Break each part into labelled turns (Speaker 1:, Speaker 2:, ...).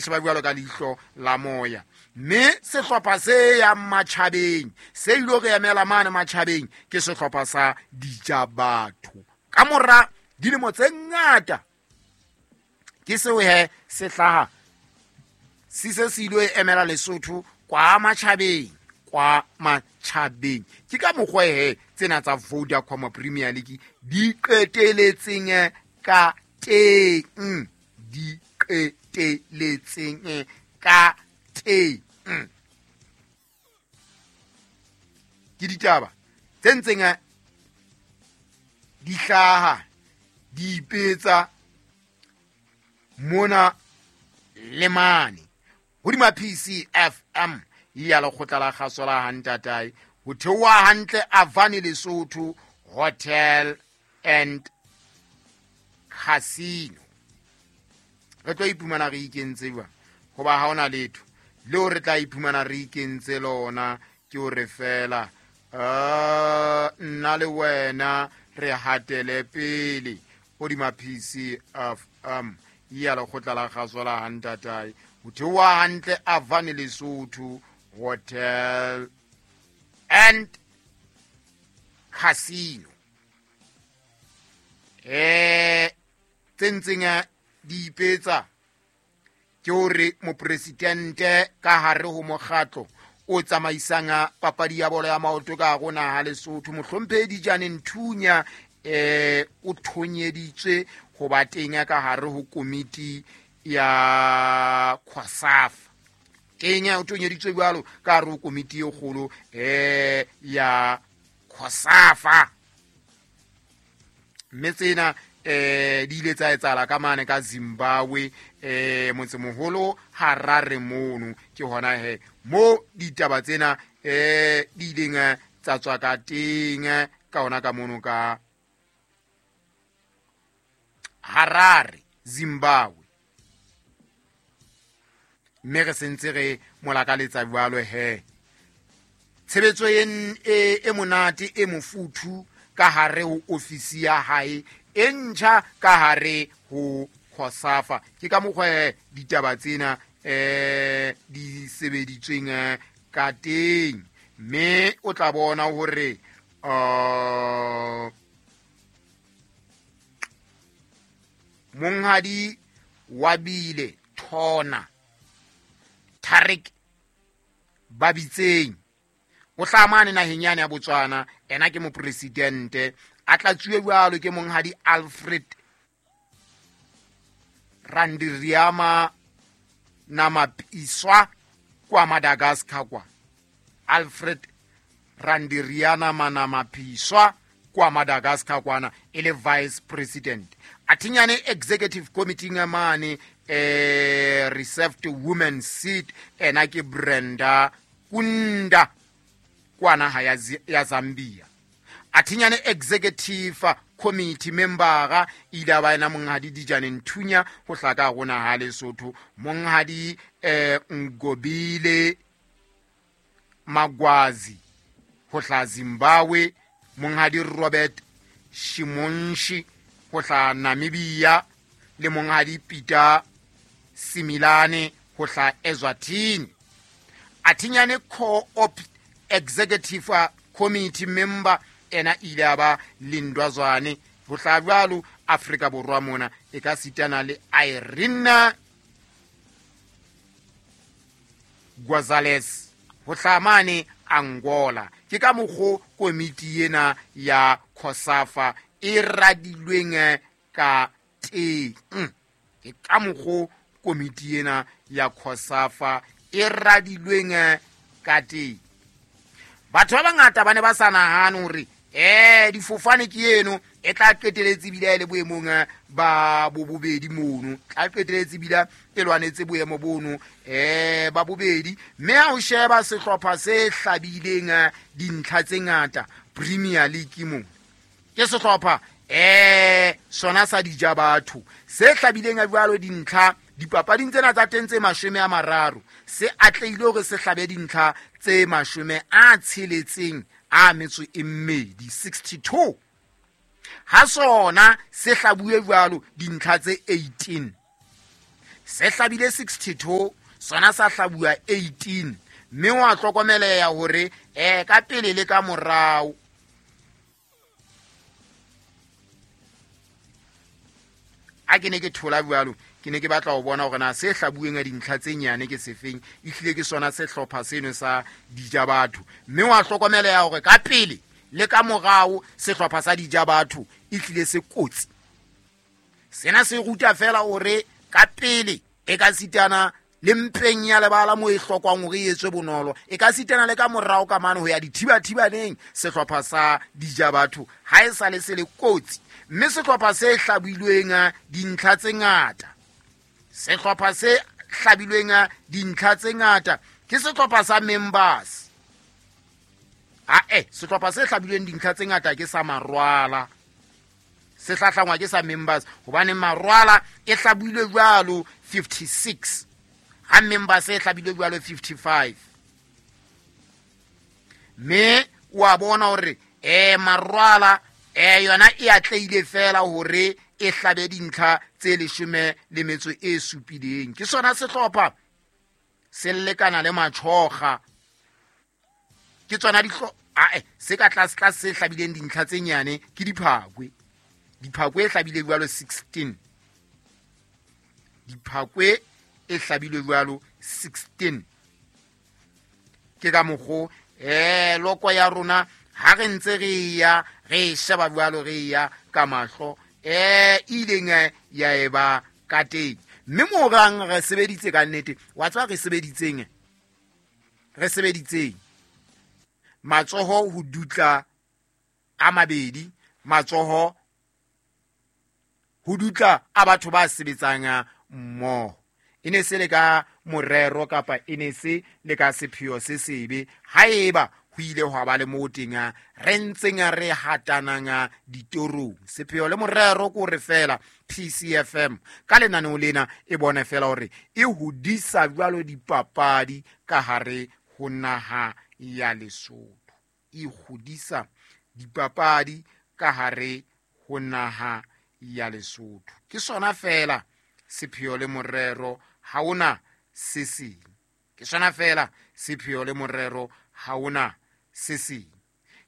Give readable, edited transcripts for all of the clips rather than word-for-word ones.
Speaker 1: Sheba jwalo ka leihlo la moya. Mme sehlopha se yang matjhabeng, se ilo re emela mane matjhabeng, ke sehlopha sa Dijabatho. Ka mora dilemo tse ngata, ke seo he se hlaha se se se ilo emela Lesotho kwa matjhabeng, kwa matjhabeng. Ke ka mokgwa he tsena tsa Vodacom Premier League di qeteletseng ka teng, di qeteletseng ka teng. Ke ditaba tse ntseng di hlaha di ipetsa mona le mane hodima PCFM ya lekgotla la kgaso la Hantatae, ho theoha hantle Avani Lesotho Hotel and Casino. Re tlo iphumana re ikentse jwang? Hoba ha hona letho leo re tla iphumana re ikentse lona, ke hore fela nna le wena re hatele pele hodima PCFM ya lekgotla la kgaso la Hantatae, ho theoha hantle Avani Lesotho Hotel and Casino. Tse ntseng di ipetsa ke hore mopresidente ka hare ho mokgatlo o tsamaisang papadi ya bolo ya maoto ka hare ho naha Lesotho, mohlomphehi Dijane Nthunya, o thonyeditswe ho ba teng ka hare ho komiti ya COSAFA. Teng o thonyeditswe jwalo ka hare ho komiti e kgolo, ya COSAFA. Mme tsena di ile tsa etsahala ka mane ka Zimbabwe, motsemoholo Harare mono. Ke hona he mo ditaba tsena di ileng tsa tswa ka teng, ka hona ka mono ka Harare, Zimbabwe. Mme re sentse re molakaletsa jwalo he tshebetso e monate e mofuthu ka hare ho ofisi ya hae e ntjha ka hare ho COSAFA. Ke ka mokgwa he ditaba tsena di sebeditsweng ka teng. Mme o tla bona hore monghadi wa bile Thona Tarik Babitseng o hlaha mane naheng yane ya Botswana, ena ke mopresidente, a tlatsuwe jwalo ke monghadi Alfred Randiriama Namapiswa kwa Madagascar kwa. Alfred Randiriana Manamapiswa kwa Madagascar kwana e le vice president. Athinyane executive committee ya mane, reserved women seat, ena ke Brenda Kunda kwa naha ya Zambia. Athinyane executive committee membera ile ba ena monghadi Dijane Nthunya ho hlaka rona ha Lesotho, monghadi Ngobile Magwazi ho hla Zimbabwe, monghadi Robert Shimonshi ho hla Namibia, le monghadi Peter Similane ho hla Eswatini. Athinyane co-op executive committee member ena ile ya ba Lindwa Zwane ho hla jwalo Afrika Borwa mona, e ka sitana le Irene Gonzalez ho hla mane Angola. Ke ka mokgo komiti ena ya COSAFA e radilweng ka teng. Ke ka mokgo komiti ena ya COSAFA e radilweng ka teng. Batho ba bangata ba ne ba sa nahane hore difofane ke eno e tla qeteletse ebile e le boemong ba bobedi mono, tla qeteletse ebile e lwanetse boemo bono ba bobedi. Mme ha o sheba sehlopha se hlabileng dintlha tse ngata Premier League mo, ke sehlopha sona sa dija batho se hlabileng jwalo dintlha dipapading tsena tsa teng tse 30, se atlehile hore se hlabe dintlha tse 62, 62. Ha sona se hlabuwe jwalo dintlha tse 18. Se hlabile 62, sona sa hlabuwa 18. Mme wa hlokomeleha hore ka pele le ka morao. A ke ne ke thola jwalo, ke ne ke batla ho bona hore na se hlabuweng a dintlha tse nyane ke sefeng, ehlile ke sona sehlopha seno sa Dijabatho. Mme wa hlokomeleha hore ka pele le ka morao sehlopha sa Dijabatho ehlile se kotsi. Sena se ruta fela hore ka pele e ka sitana le mpeng ya lebala mo e hlokwang hore e etswe bonolo, e ka sitana le ka morao ka mane ho ya dithibathibaneng sehlopha sa Dijabatho ha e sale se le kotsi. Mme sehlopha se hlabilweng dintlha tse ngata, sehlopha se hlabilweng dintlha tse ngata ke sehlopha sa Members. Sehlopha se hlabilweng dintlha tse ngata ke sa Marwala, se hlahlangwa ke sa Members, hobane Marwala e hlabilwe jwalo 56, ha Members e hlabilwe jwalo 55. Mme wa bona hore Marwala yona e atlehile fela hore e hlabe dintlha tse 17. Ke sona sehlopha se lekana le Matjhoga. Ke tsona se ka tlase tlase se hlabileng dintlha tse nyane ke Diphakwe. Diphakwe e hlabile jwalo 16. Diphakwe e hlabile jwalo 16. Ke ka mokgo loko ya rona ha re ntse re ya re sheba jwalo re ya ka mahlo ileng ya eba ka teng. Mme morang re sebeditse ka nnete, wa tswa re sebeditseng, re sebeditseng matsoho ho dutla a mabedi, matsoho ho dutla a batho ba sebetsang mmoho. E ne se le ka morero kapa e ne se le ka sepheo se sebe, haeba ho ile hwa ba le moo teng re ntseng re hatanang ditorong. Sepheo le morero ke hore fela PCFM ka lenaneo lena e bone fela hore e hodisa jwalo dipapadi ka hare ho naha ya Lesotho. E hodisa dipapadi ka hare ho naha ya Lesotho. Ke sona fela sepheo le morero, ha ona se seng. Ke sona fela sepheo le morero, ha ona se seng.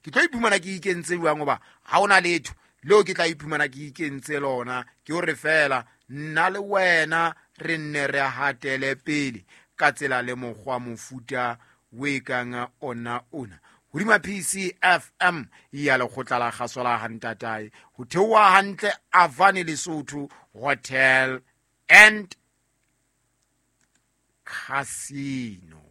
Speaker 1: Ke tlo iphumana ke ikentse jwang hoba ha ona letho leo ke tla iphumana ke ikentse lona, ke hore fela nna le wena re nne re hatele pele ka tsela le mokgwa mofuta o e kang ona ona. Hodima PCFM ya lekgotla la kgaso la Hantatae, ho theoha hantle Avani Lesotho Hotel and Casino.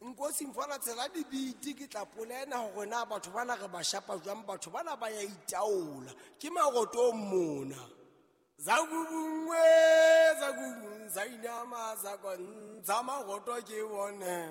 Speaker 2: Nkosi mfana tsela dibiti ke tla polena hore na batho bana re ba shapa jwang, batho bana ba ya itaola ke maroto mona. Zakubungwe zainama zakonza maroto ke bone.